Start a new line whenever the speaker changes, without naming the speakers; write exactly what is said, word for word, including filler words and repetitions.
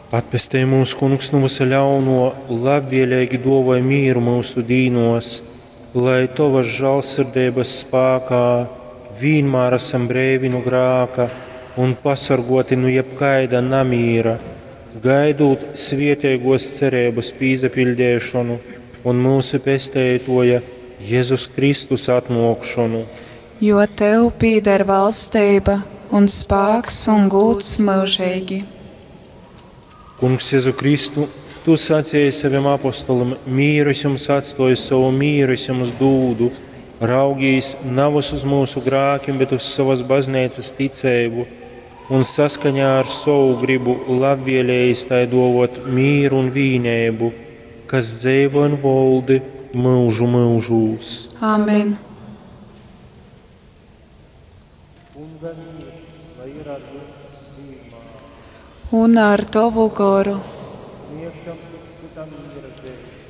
Atpestej mūs, Kungs, nu vysa ļaunuo, labvieleigi duovoj mīru myusu dīnuos, lai Tovas žālsirdeibas spākā vīnmār asam breivi nu grāka un pasorguoti nu jebkaida namīra, gaidūt svieteiguos cereibys pīsapiļdeišonu un myusu Pesteituoja Jezus Kristus atnuokšonu.
Jo tev pīder valsteiba un spāks un gūds myužeigi.
Kungs Jezu Kristu, Tu sacēji savim apostolim: Mīru es jums atstoju, savu mīru es jums dūdu. Raugīs navys uz mūsu grākim, bet uz savas bazneicas ticeibu, un saskaņā ar savu gribu labvēlējis tai dovot mīru un vīneibu, kas dzeivo un voldi mūžu mūžūs.
Amen.
Kunga mīrs, lai ir ar jums vienmēr.
Un ar tovu goru.
Sniegšam cits citam mīra zīmes.